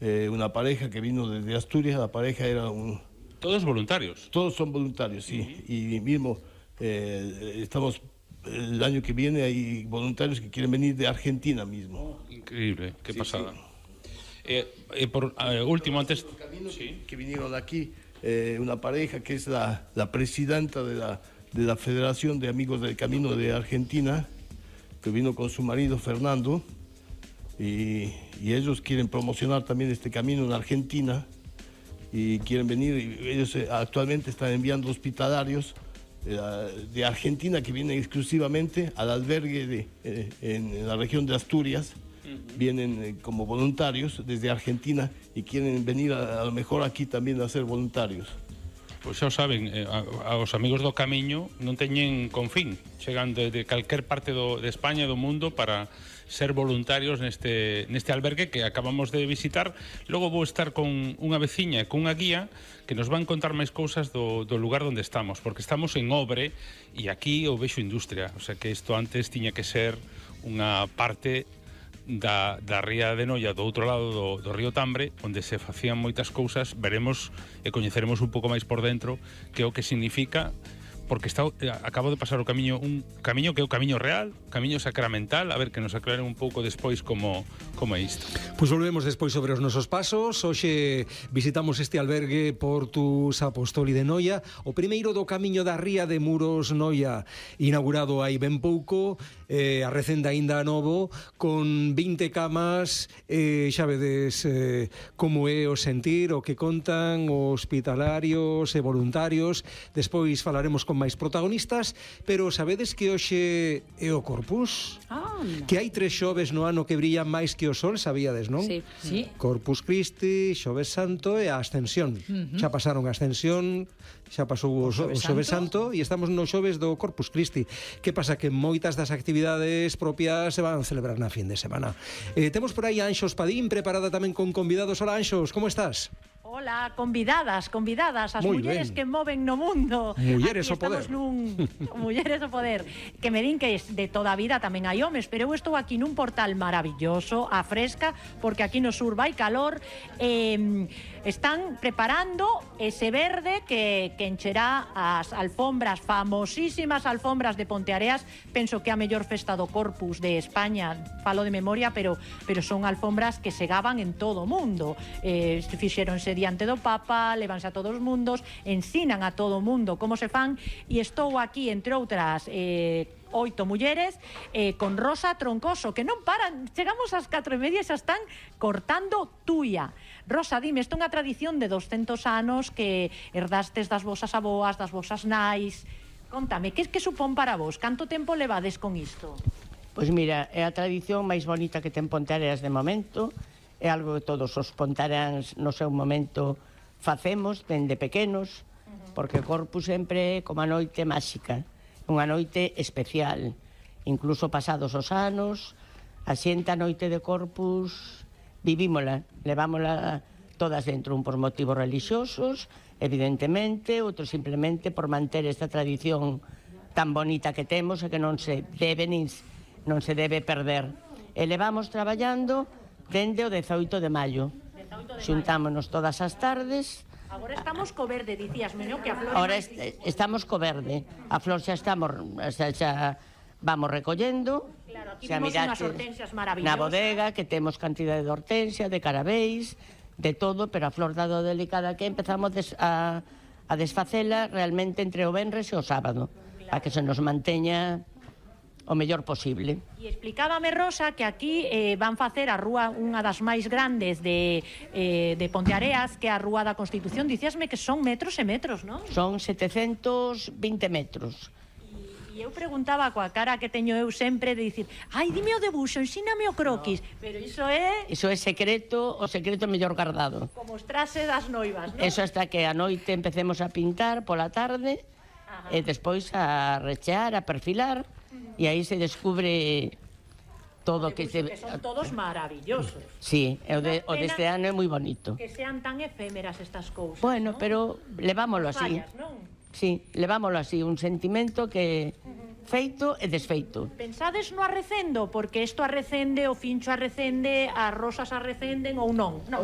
una pareja que vino desde Asturias. La pareja era ¿Todos voluntarios? Todos son voluntarios, sí. Y mismo estamos, el año que viene hay voluntarios que quieren venir de Argentina mismo. Increíble, qué pasada. Sí. Por último, antes... Que vinieron aquí, una pareja que es la presidenta de la Federación de Amigos del Camino de Argentina, que vino con su marido Fernando, y ellos quieren promocionar también este camino en Argentina, y quieren venir, y ellos actualmente están enviando hospitalarios de Argentina que vienen exclusivamente al albergue en la región de Asturias. Vienen como voluntarios desde Argentina y quieren venir a lo mejor aquí también a ser voluntarios. Pois xa o saben, aos amigos do Camiño non teñen confín, chegan de calquer parte de España e do mundo para ser voluntarios neste albergue que acabamos de visitar. Logo vou estar con unha veciña e con unha guía que nos van contar máis cousas do lugar onde estamos, porque estamos en Obre e aquí o vexo industria, o sea que isto antes tiña que ser unha parte da ría de Noia, do outro lado do río Tambre, onde se facían moitas cousas. Veremos e coñeceremos un pouco máis por dentro que é o que significa, porque acabo de pasar un camiño que é o camiño real, camiño sacramental, a ver que nos aclaren un pouco despois como é isto. Pois volvemos despois sobre os nosos pasos. Hoxe visitamos este albergue Portus Apostoli de Noia, o primeiro do camiño da ría de Muros Noia, inaugurado hai ben pouco, a recenda aínda novo, con 20 camas, xa vedes como é o sentir, o que contan os hospitalarios e voluntarios. Despois falaremos con máis protagonistas, pero sabedes que hoxe é o Corpus? Que hai 3 xoves no ano que brillan máis que o sol, sabíades, non? Sí. Corpus Christi, Xoves Santo e a Ascensión. Xa pasaron a Ascensión, xa pasou o Xoves Santo e estamos no xoves do Corpus Christi. Que pasa? Que moitas das actividades propias se van a celebrar na fin de semana. Temos por aí a Anxos Padín preparada tamén con convidados. Hola, Anxos, como estás? Hola, convidadas, as mulleres que moven no mundo. Mulleres o poder. Mulleres o poder. Que me din que de toda a vida tamén hai homes, pero eu estou aquí nun portal maravilloso, a fresca, porque aquí no sur vai calor. Están preparando ese verde que encherá as alfombras, famosísimas alfombras de Ponteareas. Penso que a mellor festa do Corpus de España, falo de memoria, pero son alfombras que se gaban en todo o mundo. Fixéronse diante do Papa, levanse a todos os mundos, ensinan a todo o mundo como se fan, e estou aquí, entre outras 8 mulleres, con Rosa Troncoso, que non paran, chegamos ás 4:30 e xa están cortando tuia. Rosa, dime, isto é unha tradición de 200 anos que herdastes das vosas aboas, das vosas nais. Contame, que supón para vos? Canto tempo levades con isto? Pois mira, é a tradición máis bonita que ten Ponteareas de momento. É algo que todos os pontareáns no seu momento facemos dende pequenos, porque o Corpus sempre é como a noite máxica, unha noite especial. Incluso pasados os anos, a xente a noite de Corpus vivímola, levámola todas dentro, un por motivos religiosos, evidentemente, outro simplemente por manter esta tradición tan bonita que temos e que non se debe perder. E levamos traballando dende o 18 de maio. Xuntámonos todas as tardes. Agora estamos co verde, dicíasme, non? Que a flor... Agora estamos co verde. A flor xa vamos recollendo. Claro, aquí temos unhas hortensias maravillosas. Na bodega, que temos cantidade de hortensia, de carabéis, de todo, pero a flor dado delicada que empezamos a desfacela realmente entre o venres e o sábado, para que se nos manteña o mellor posible. E explicábame, Rosa, que aquí van facer a rúa, unha das máis grandes de Ponteareas, que é a Rúa da Constitución. Dicíasme que son metros e metros, non? Son 720 metros. E eu preguntaba coa cara que teño eu sempre de dicir, ai, dime o debuxo, ensíname o croquis. Pero iso é... Iso é secreto, o secreto mellor guardado. Como os trases das noivas, non? Eso hasta que a noite empecemos a pintar pola tarde, e despois a rechear, a perfilar, e aí se descubre todo que son todos maravillosos. Sí, o deste ano é moi bonito. Que sean tan efémeras estas cousas. Bueno, pero levámolo así. Sí, levámolo así, un sentimento que feito e desfeito. Pensades no arrecendo, porque isto arrecende, o fincho arrecende, as rosas arrecenden ou non?